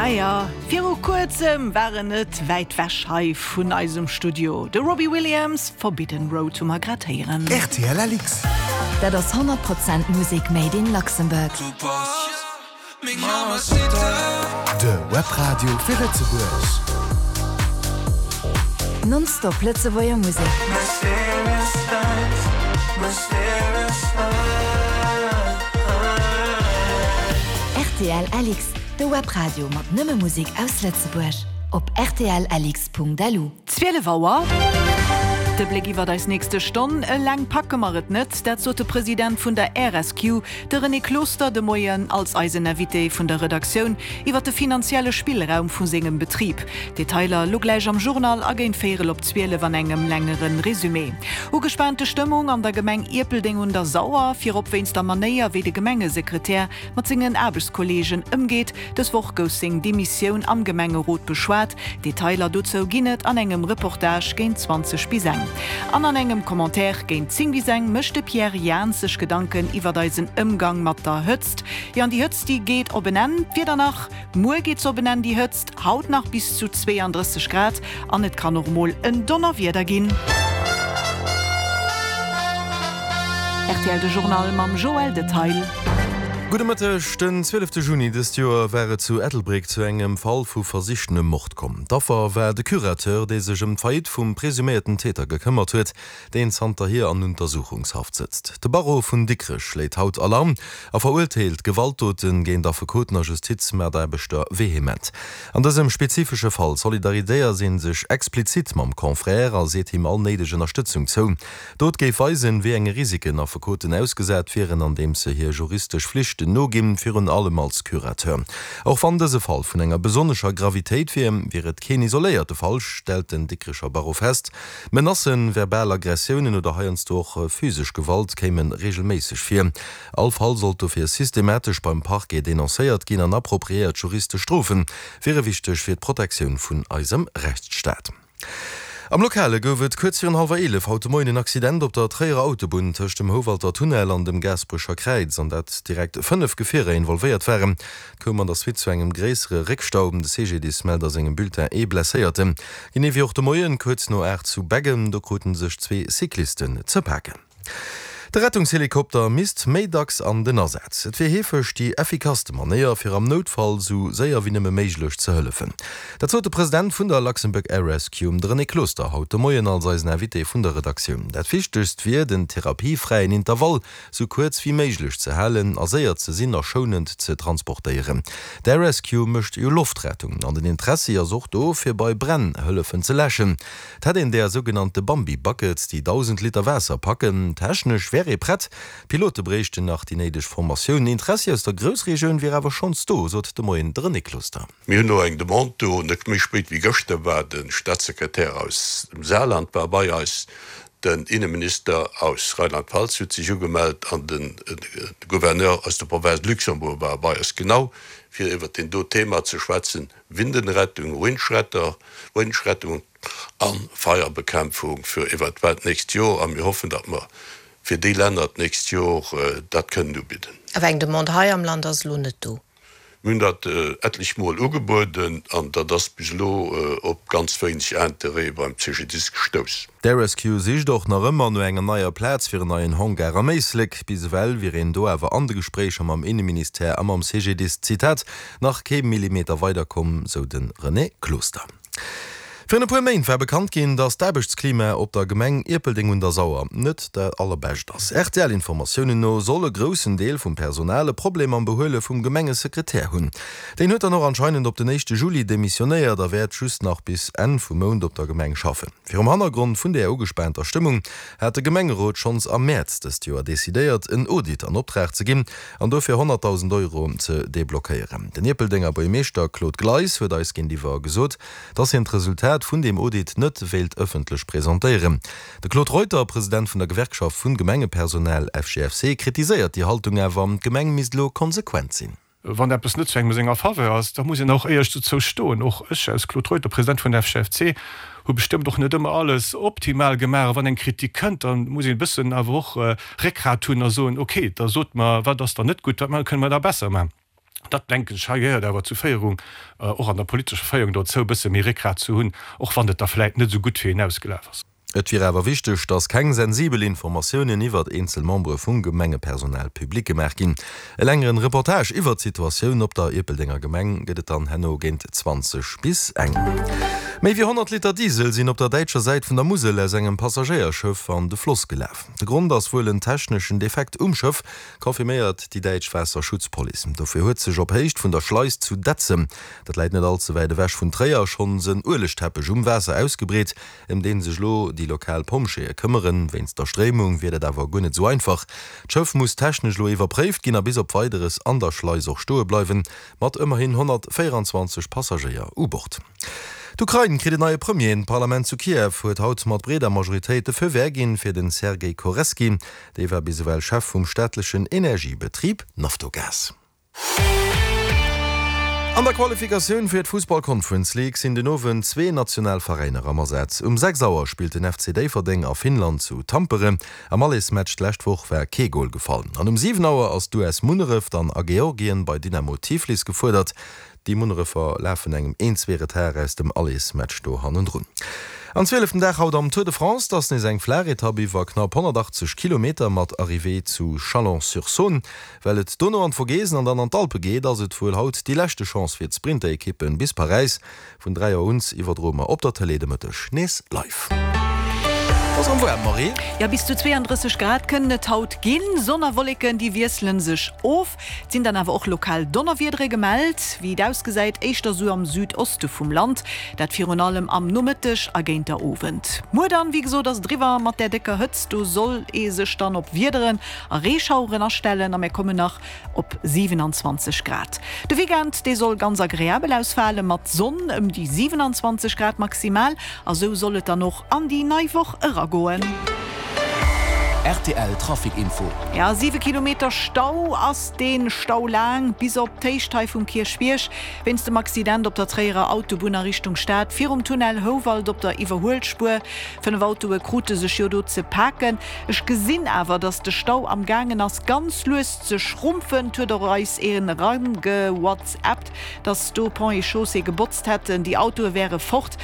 Ah jo, viru kuerzem war en net wäit wech hei vun eisem Studio, de Robbie Williams, Forbidden Road hu mer grad héieren. Rtl LX. Dat ass 100 Prozent Musek made in Luxembourg. De Webradio fir Lëtzebuerg. Non-stop Lëtzebuerger Musek. Rtl LX, de Webradio mat nëmme Musek aus Lëtzebuerg. Op rtlx.lu. 12 Auer. De Bléck iwwert eis nächste Stonn. Eleng packe mer et net, dat sot de President vun der RSQ, De René Closter de Moien als eisen Invité vun der Redaktioun iwwer de finanzielle Spillraum vu sengem Betrib. Detailer lo gläich am Journal a géint véierel op 12 an engem längere Resumé. Ugespaante Stëmmung an der Gemeng Ierpeldeng un der Sauer, virop wéinst der Manéier wéi de Gemengesekretär mat sengen Aarbechtskolleegen ëmgeet. Dës Woch gouf seng Demissioun am Gemengerot beschwat. Detailer dozou ginn et an engem Reportage géint 20 bis eng. An an engem Commentaire géint 10 bis eng mécht de Pierre Jans sech Gedanken iwwert eisen Ëmgang mat der Hëtzt. Jo, an déi Hëtzt, déi geet op en Enn. D'Wieder nach, Muer geet se op en Enn, déi Hëtzt. Haut nach bis zu 32 Grad an et kann och mol en Donnerwieder ginn. Rtl De Journal mam Joël Detail. Gudde Mëtteg, Den 12 Juni dëst Joer war et zu Ettelbréck zu engem Fall vu versichtenem Mord komm. D'Affer war de Curateur, dee sech ëm d'Faillite vum presuméierten Täter gekëmmert huet, deen zanterhier an Untersuchungshaft sëtzt. De Barreau vun Dikrech schléit haut Alarm a verurteelt Gewaltdote géint Affekoten a Justizmataarbechter vehement. An dësem spezifesche Fall solidariséiert ee sech explizit mam Confrère a seet him all néideg Ënnerstëtzung zou. D'Dot géif weisen, wéi enge Risiken Affekoten ausgesat wieren, andeems se hir juristesch Flichten noginn, virun allem als Curateur. Och wann dëse Fall vun enger besonnescher Gravitéit wier, wier et keen isoléierte Fall, stellt den Dikrecher Barreau fest. Menacen, verbal Aggressiounen oder heiansdo och physesch Gewalt kéime reegelméisseg vir. All Fall sollt dofir systematesch beim Parquet denoncéiert ginn an appropriéiert juristesch Strofe wiere wichteg fir d'Protektioun vun eisem Rechtsstaat. Am Lokale gouf et kuerz virun hallwer 11 haut de Moien en Accident op der Tréierer Autobunn tëscht dem Houwalter Tunnel an dem Gaasperecher Kräiz, an dat direkt 5 Gefierer involvéiert waren. Et koum an der Suite zu engem gréissere Réckstau. De CGDIS mellt a sengem Bulletin ee Blesséierten. Genee wéi och de Moien kuerz no 8 zu Beggen, do krute sech zwee Cyclisten ze paken. De Rettungshelikopter misst méi dacks an den Asaz. Et wier heefeg déi effikasste Manéier, fir am Noutfall sou séier wéi nëmme méiglech ze hëllefen. Dat sot de President vun der Luxembourg Air Rescue, de René Closter, haut de Moien als eisen Invité vun der Redaktioun. Dat Wichtegst wier, den therapiefräien Intervall sou kuerz wéi méiglech ze halen a séier ze sinn a schounend ze transportéieren. D'Air Rescue mécht jo Loftrettung an den Interessi ass och do, fir bei Bränn hëllefen ze läschen. 't hätt een där sougenannte Bambi Buckets, déi 1.000 Liter Waasser packen. Technesch wär ee prett, d'Pilote bréichten nach déi néideg Formatioun. Interessi aus der Groussregioun wier awer schonns do, sot de Moien de René Closter. Mir hunn elo eng Demande do. Net méi spéit wéi gëschter war de Staatssekretär aus dem Saarland war bei eis, den Inneminister aus Rheinland-Pfalz huet sech ugemellt an de Gouverneur aus der Province Luxembourg war bei eis, genau fir iwwert deen do Thema ze schwätzen, Windenrettung, Windschretter, Windschrettung a Feierbekämpfung fir eventuell d'nächst Jor. A mir hoffen, datt mer fir déi Länner d'nächst Jor dat kënnen ubidden. Awer eng Demande hei am Land ass elo net do. Mir hunn dat etlech Mol ugebueden an dat ass bis elo op ganz wéineg Interêt beim CGDIS gestouss. D'Air Rescue sicht och nach ëmmer no enger neier Plaz fir en neien Hangar am Éislek. Bis ewell wier een do awer an de Gespréicher mam Inneministère a mam CGDIS, Zitat, nach kee Millimeter weiderkomm, sou de René Closter. Virun e puer Méint war bekannt ginn, datt d'Aarbechtsklima op der Gemeng Ierpeldeng un der Sauer net dat allerbescht ass. RTL-Informatiounen no soll e groussen Deel vum Personal e Problem mam Behuele vum Gemengesekretär hunn. Deen huet dann och anscheinend op den éischte Juli demissionéiert a wäert just nach bis Enn vum Mount op der Gemeng schaffen. Virum Hannergrond vun där ugespaanter Stëmmung hat de Gemengerot schonns am Mäerz dëst Joer decidéiert, en Audit an Optrag ze ginn an dofir 100.000 Euro ze deblockéieren. Den Ierpeldenger Buergermeeschter Claude Gleis huet eis géintiwwer gesot, dass hien d'Resultat vun deem Audit net wéilt ëffentlech presentéieren. De Claude Reuter, President vun der Gewerkschaft vun Gemengepersonal, FGFC, kritiséiert déi Haltung awer, d'Gemeng misst elo konsequent sinn. Wann eppes net zu engem senger Faveur ass, da muss een och éierlech dozou stoen. Och ech als Claude Reuter, President vun der FGFC, hu bestëmmt och net ëmmer alles optimal gemaach. A wann eng Kritik kënnt, da muss een e bëssen awer och Réckgrat hunn a soen, okay, da sot mer, wat ass dann net gutt, wat kënne mer da besser maachen. Dat, denken ech, hei gehéiert awer zu Féierung, och an der politescher Féierung dozou, e bësse méi Réckgrat ze hunn, och wann et da vläit net esou gutt fir een ausgelaf ass. Et wier awer wichteg, datt keng sensibel Informatiounen iwwert eenzel Membere vum Gemengepersonal public gemaach ginn. E längeren Reportage iwwert d'Situatioun op der Ierpeldenger Gemeng gëtt et dann herno géint 20 bis eng. Méi wéi 100 Liter Diesel sinn op der däitscher Säit vun der Musel aus engem Passagéierschëff an de Floss gelaf. De Grond ass wuel en techneschen Defekt um Schëff, confirméiert déi däitsch Waasserschutzpolice. Dofir huet sech op Héicht vun der Schleis zu Detzem, dat läit net all ze wäit ewech vun Tréier, schonns en Uelegteppech um Waasser ausgebreet, ëm dee sech elo déi lokal Pompjeeë këmmeren. Wéinst der Stréimung wier dat awer guer net esou einfach. D'Schëff muss technesch elo iwwerpréift ginn a bis op Weideres an der Schleis och stoe bleiwen, mat ëmmerhin 124 Passagéier u Bord. D'Ukrain kritt en neie Premier. D'Parlament zu Kiew huet haut mat breeder Majoritéit de Feu vert ginn fir den Sergej Koreski. Dee war bis ewell Chef vum staatlechen Energiebetrib Naftogaz. An der Qualifikatioun fir d'Fussball Conference League sinn den Owend zwee national Veräiner am Asaz. Um 6 Auer spillt den FC Déifferdeng a Finnland zu Tampere. Am Allesmatch d'lescht Woch war kee Gol gefall. An um 7 Auer ass d'US Munneref dann a Georgien bei Dynamo Tiflis gefuerdert. Déi Munnerefer lafen engem Een-Zwee-Retard aus dem Allesmatch do hannendrun. An zwieleften Dag haut am Tour de France, 't ass nees eng flaach Etapp iwwer knapp 180 Kilometer mat Arrivée zu Chalon-sur-Saône. Well et dono an d'Vogesen an dann an d'Alpe geet, ass et wuel haut déi leschte Chance fir d'Sprinter-Ekippen bis Paräis. Vun 3 Auer un iwwerdroe mer op der Tëlee de Mëtteg nees live. Ass erëm waarm, Marie? Jo, bis zu 32 Grad kënnen et haut ginn. Sonn a Wolleken, déi wiessele sech of. Et sinn dann awer och lokal Donnerwiedere gemellt. Wéi et ausgesäit, éischter sou am Südoste vum Land, dat virun allem am Nomëtteg a géint der Owend. Muer dann, wéi gesot, ass et eriwwer mat där décker Hëtzt. Do soll ee sech dann op Wiederen a Reeschaueren astellen a mir kommen nach op 27 Grad. De Weekend, dee soll ganz agreabel ausfale mat Sonn, ëm déi 27 Grad maximal a sou soll et dann och an déi nei Woch eragoen. Rtl Trafic Info. Jo, 7 Kilometer Stau ass dee Stau laang, bis op d'Héicht hei vum Kierchbierg. Wéinst dem Accident op der Tréierer Autobunn a Richtung Stad, virum Tunnel Houwald op der Iwwerhuelspuer. 5 Autoe krute sech jo do ze paken. Ech gesinn awer, dass de Stau am gaangen ass ganz lues ze schrumpfen. Et huet och eis een erangewhatsappt, dass do Ponts et Chaussées gebotzt hätten, déi Autoe wäre fort.